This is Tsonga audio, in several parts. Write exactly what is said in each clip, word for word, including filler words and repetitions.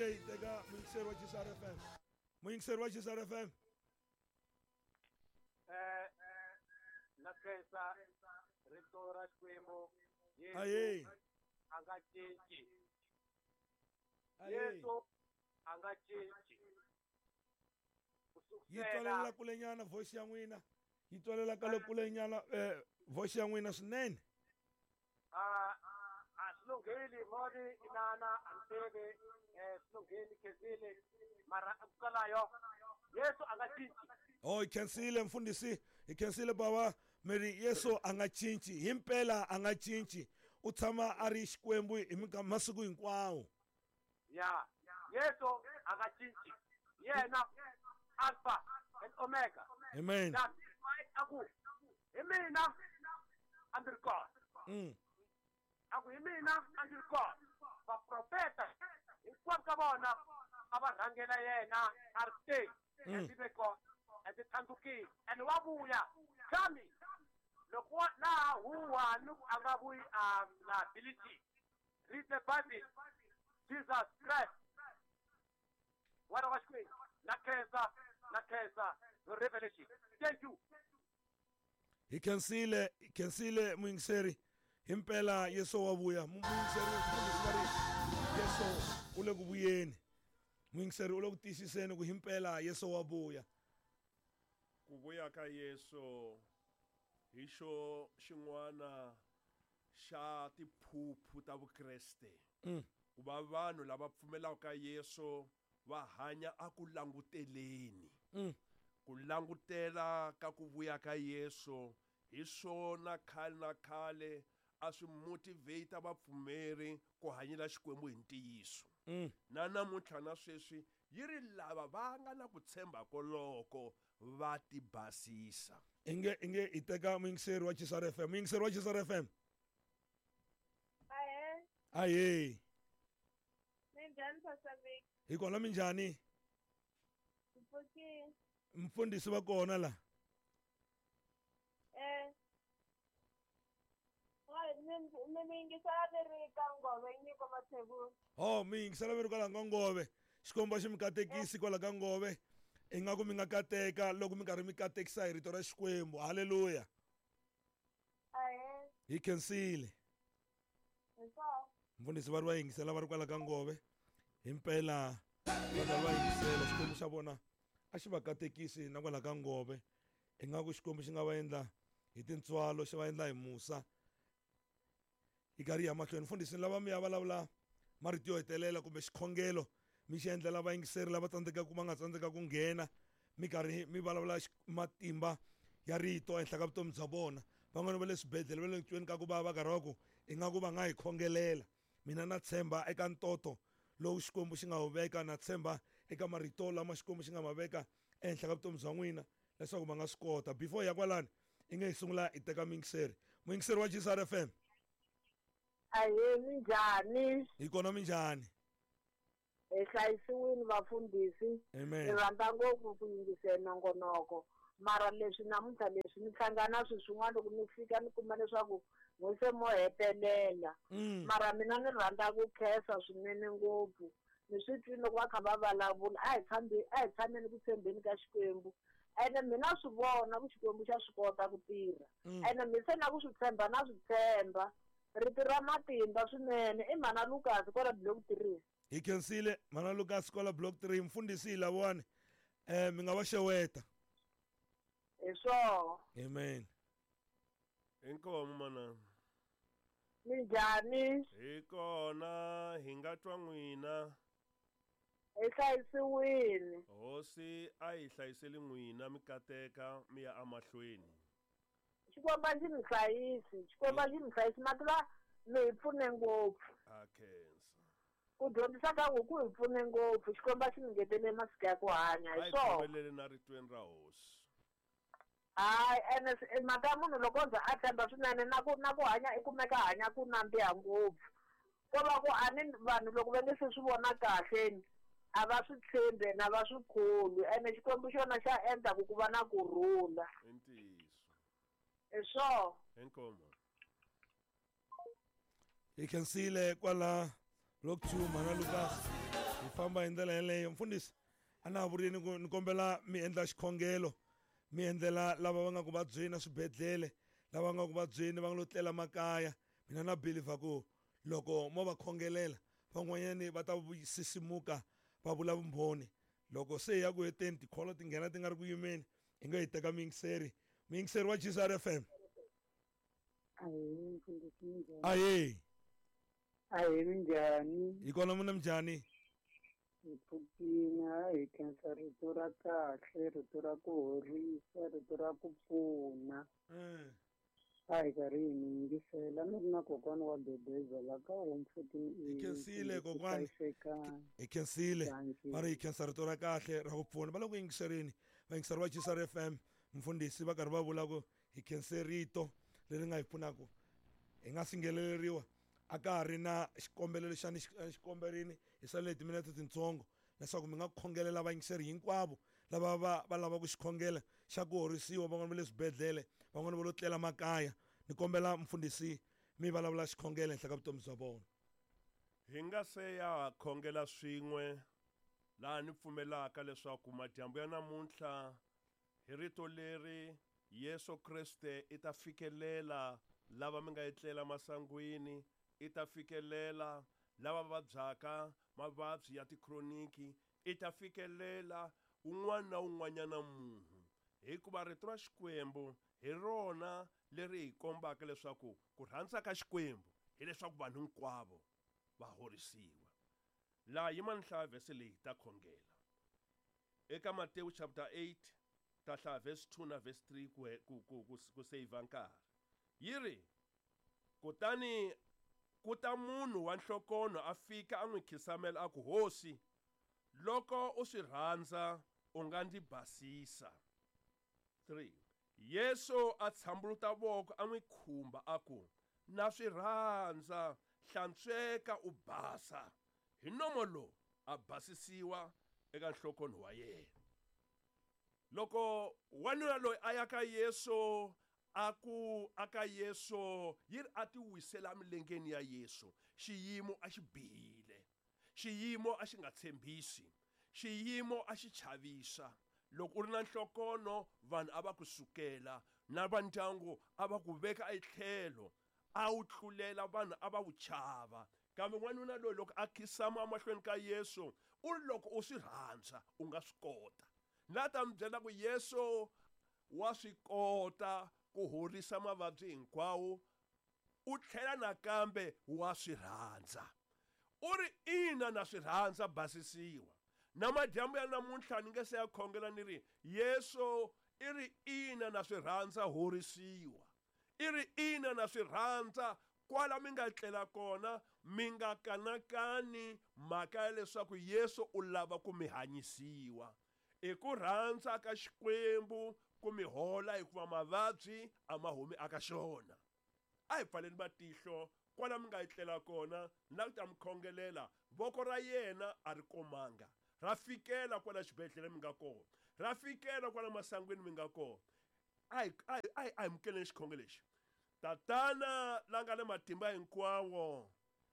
Inge hi teka muyingiseri wa G S R F M, muyingiseri wa G S R F M. eh na khensa rito ra Xikwembu. Aye. Yesu a nga cinci. Aye. Yesu a nga cinci. Ku Yi sukusela twalela kulenyana voice ya n'wina, yi twalela ka le kulenyana eh voice ya n'wina swinene. A a swi lungheli moni inana a ni tivi, eh swi lungheli khensile, mara kwalayo Yesu a nga cinci. Oh, hi khensile mfundhisi, hi khensile bava. Mi ri Yesu a nga cinci, himpela a nga cinci, u tshama a ri Xikwembu hi minka- masiku hinkwawo. Ya, Yesu a nga cinci, yena Alpha and Omega. Amen. That's why a ku hi mina a ndzi ri kona. mm. A ku hi mina a ndzi ri kona, vaprofeta hinkwavo ka vona a va rhangela yena a ri te Mm. ndzi ve kona, ndzi tlhandlukile and wa vuya coming. Loko wa- laha huwa ni ku a nga vuyi, um liability. Read the Bible. Jesus Christ, n'wana wa Xikwembu. Na khensa, na khensa the revelation. Thank you. Hi khensile, hi khensile muyingiseri. Himpela Yesu wa vuya. Muyingiseri, mfundhisi va ri Yesu u le ku vuyeni. Muyingiseri u le ku tiyisiseni ku himpela Yesu wa vuya. Ku vuya ka Yesu hi xo xin'wana xa tiphuphu ta Vukreste. Mm. Ku va vanhu lava pfumelaka ka Yesu va hanya a ku languteleni. Mm. Ku langutela ka ku vuya ka Yesu hi swona khale na khale a swi motivate vapfumeri ku hanyela Xikwembu hi ntiyiso. Mm. Na namuntlha na sweswi yi ri lava va nga na ku tshemba koloko va tibasisa. Inge inge hi teka muyingiseri wa G S R F M, muyingiseri wa G S R F M. Ahe. Aye. Minjhani, Pastor Vic? Hi kona, minjhani? Mpfukile. Mfundhisi va kona la. Eh. Hayi, mi mi mi yingisela ni ri ka Ngove, Nyiko Mathebula. Oh, mi yingisela mi ri kwala ka Ngove. Xikwembu a xi mi katekisi kwala ka Ngove. Ingaku mi nga kateka loko mi karhi mi katekisa hi rito ra Xikwembu. Halleluya. Ahe. Hi khensile. Hi swona. Mfundhisi va ri va yingisela va ri kwala ka Ngove. Himpela va karhi va yingisela, Xikwembu xa vona a xi va katekisi na kwala ka Ngove. Ingaku Xikwembu xi nga va endla hi tintswalo, xi va endla hi musa. Hi karhi hi ya mahlweni, mfundhisi, lava mi ya vulavula marito yo hetelela kumbe xikhongelo mi xi endlela vayingiseri lava tsandzekaka, va nga tsandzeka ku nghena, mi karhi mi vulavula xi- matimba ya rito ehenhla ka vutomi bya vona. Van'wani va le swibedhlele, va le ku tweni ka ku va va karhi va ku ingaku va nga hi khongelela. Mina na tshemba eka ntoto lowu Xikwembu xi nga wu veka, na tshemba eka marito lama Xikwembu xi nga ma veka ehenhla ka vutomi bya n'wina leswaku va nga swi kota. Before hi ya kwalani, i nge hi sungula hi teka muyingiseri, muyingiseri wa G S R F M. Ahe, minjhani? Hi kona, minjhani? Hi hlayisiwile, vafundhisi. Amen. Ni rhandza ngopfu ku yingisela nongonoko, mara leswi namuntlha leswi ni hlangana swi swin'wana, loko ni fika ni kuma leswaku n'wi se mo hetelela. Mm. Mara mina ni rhandza ku khensa swinene ngopfu. Ni swi twile loko va kha va vulavula, a hi tshambi, a hi tshameni ku tshembeni ka Xikwembu, ene mina swi vona ku Xikwembu xa swi kota ku tirha. Mm. Ene mi se na ku swi tshemba, na swi tshemba rito ra matimba swinene. I mhana Lucas kwala block three. Hi khensile, mana Lucas kwala block three. Mfundhisi hi lavawani, um mi nga va xeweta. Hi swona. Amen. Inkomu, mana. Minjhani? Hi kona, hi nga twa n'wina. Hi hlayisiwile. Hosi a hi hlayiseli n'wina, mi kateka mi ya amahlweni. Xikwembu a xi mi hlayisi, Xikwembu a xi mi hlayisi. Mativa mi hi pfune ngopfu. A khensa. Ku dyondzisa ka ku ku hi pfune ngopfu. Xikwembu a xi mi ngetele masiku ya ku hanya. A Hi hi swona. khomeleli na ritweni ra Hosi. Hayi, ene s- mhaka ya munhu loko o za a tshemba swinene na ku na ku hanya i kumeka hanya ku nandziha ngopfu. Ko va ku a ni vanhu loko va nge se swi vona kahle a va swi tshembi na va swi kholwi, ene Xikwembu xona xa endla ku ku va na kurhula. I ntiyiso. Hi swona. Inkomu. Hi khensile kwala block two, mana Lucas. Hi famba hi ndlela yeleyo. Mfundhisi a na ha vurini ku ni kombela mi endla xikhongelo, mi endlela lava va nga ku vabyeni eswibedhlele, lava nga ku vabyeni va nga lo tlela makaya. Mina na believer ku loko mo va khongelela van'wanyani va ta sisimuka va vula vumbhoni. Loko se hi ya ku heteni tikholo ti nghena ti nga ri ku yimeni, hi nga hi teka muyingiseri. Muyingiseri wa G S R F M. Ahee, mfundhisi minjhani? Ahee. Ahee, minjhani? Hi kona muna minjhani? Hi pfukile, hi khensa rito ra kahle, rito ra ku horisa, rito ra ku pfuna. A hi karhi hi mi yingisela, ni ri na kokwana wa Bebeza la ka home fourteen Hi khensile kokwani. Hi khensile. Va ri hi khensa rito ra kahle ra ku pfuna. Va le ku yingiserini vayingiseri va G S R F M, mfundhisi va karhi va vula ku hi khense rito leri nga hi pfunaka. Hi nga singheleriwa a ka ha ri na xikombelo lexi a ni xikomberini hi salele timinete tintsongo leswaku mi nga khongelela vayingiseri hinkwavo lava va va lavaka xikhongelo xa ku horisiwa, van'wana va le swibedhlele, van'wana va lo tlela makaya. Ni kombela mfundhisi mi vulavula xikhongelo henhla ka vutomi bya vona. Hi nga se ya khongela swin'we laha ni pfumelaka leswaku madyambu ya namuntlha hi rito leri Yesu Kriste i ta fikelela lava mi nga etlela masangwini, i ta fikelela lava vabyaka mavabyi ya tikhroniki, i ta fikelela un'wana na un'wanyana munhu, hikuva rito ra Xikwembu hi rona leri hi kombaka leswaku ku rhandza ka Xikwembu hileswaku vanhu hinkwavo va horisiwa. Laha yima ni hlaya vhese leyi ta khongela eka Matewu chapter eight, ta hlaya verse two na verse three ku ku ku ku save nkarhi. Yi ri, kutani ku ta munhu wa nhlokonho a fika a n'wi khisamela a ku, Hosi, loko u swi rhandza u nga ndzi basisa. three. Yesu a tshambuluta voko a n'wi khumba a ku, na swi rhandza, hlantsweka u basa. Hi nomo lowu a basisiwa eka nhlokonho wa yena. Loko wanuna loyi a ya ka Yesu a ku aka Yesu yi ri a ti wisela milengeni ya Yesu, xiyimo a xi bihile, xiyimo a xi nga tshembisi, xiyimo a xi chavisa. Loko u ri na nhlokono vanhu a va ku sukela, na va ndyangu a va ku veka etlhelo, a wu tlulela vanhu a va wu chava. Kambe n'wanuna loyi loko a khisama emahlweni ka Yesu u ri, loko u swi rhandza u nga swi kota. La ta mi byela ku Yesu wa swi kota ku horisa mavabyi hinkwawo, u tlhela nakambe wa swi rhandza. U ri, ina na swi rhandza, basisiwa. Na madyambu ya namuntlha ni nge se ya khongela ni ri, Yesu i ri ina na swi rhandza, horisiwa. I ri ina na swi rhandza, kwala mi nga tlela kona mi nga kanakani mhaka ya leswaku Yesu u lava ku mi hanyisiwa. I ku rhandza ka Xikwembu ku mi hola, hikuva mavabyi a ma humi aka xona. A hi pfaleni matihlo kwala mi nga etlela kona, na ku ta mi khongelela. Voko ra yena a ri komanga, ra fikela kwala xibedhlele mi nga kona, ra fikela kwala masangwini mi nga kona. A hi a hi a hi amukeleni xikhongelo lexi. Tatana la nga le matimba hinkwawo,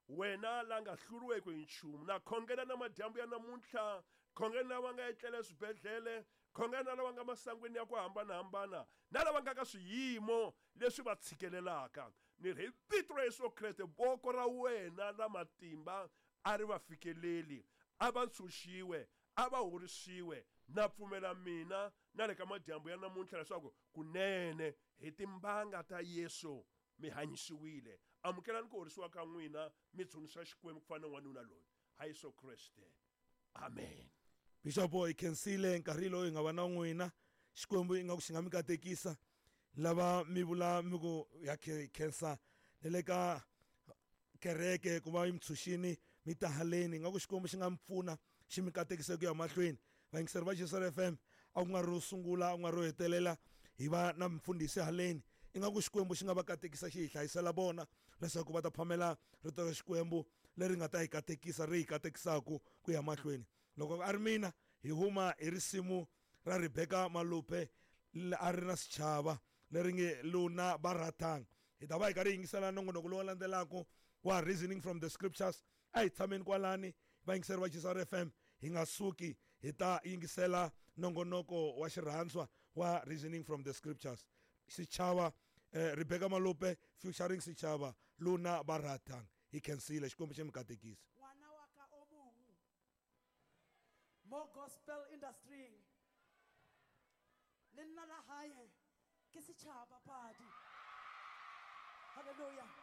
wena la nga hluriweki hi nchumu, na khongela na madyambu ya namuntlha, khongela na va nga etlela eswibedhlele, khongela na lava nga masangwini ya ku hambanahambana, na lava nga ka swiyimo leswi va tshikelelaka. Ni ri hi vito ra Yesu Kreste, voko ra wena ra matimba a ri va fikeleli, a va ntshunxiwe, a va horisiwe. Na pfumela mina na le ka madyambu ya namuntlha leswaku kunene hi timbanga ta Yesu mi hanyisiwile. Amukelani ku horisiwa ka n'wina, mi dzunisa Xikwembu ku fana na n'wanuna loyi. Ha Yesu Kreste, amen. Bishop hi khensile nkarhi lowu hi nga va na n'wina. Xikwembu ingaku xi nga mi katekisa. Lava mi vula mi ku ya khensa ni le ka kereke ku va yi mi tshunxini mi ta haleni, ingaku Xikwembu xi nga mi pfuna xi mi katekisa ku ya mahlweni. Vayingiseri va G S R F M, a ku nga ri ro sungula, a ku nga ri ro hetelela hi va na mfundhisi haleni. Ingaku Xikwembu xi nga va katekisa xi hi hlayisela vona leswaku va ta phamela rito ra Xikwembu leri nga ta hi katekisa, ri hi katekisaku ku ya mahlweni. Loko a ri mina hi huma hi risimu ra Rebecca Malope a ri na xichava leri nge Luna ba ratang. Hi ta va hi karhi hi yingisela nongonoko lowu landzelaka wa Reasoning from the Scriptures. A hi tshameni kwalani va Vayingiseri va G S R F M, hi nga suki, hi ta yingisela nongonoko wa xirhandzwa wa Reasoning from the Scriptures. Xichava, eh, Rebecca Malope featuring Xichava, Luna Ba Ratang. Hi khensile, Xikwembu xi mi katekisa. Ngwana wa ka o mong mo gospel industry le nna la hae ke Setšhaba Padi. Halleluja.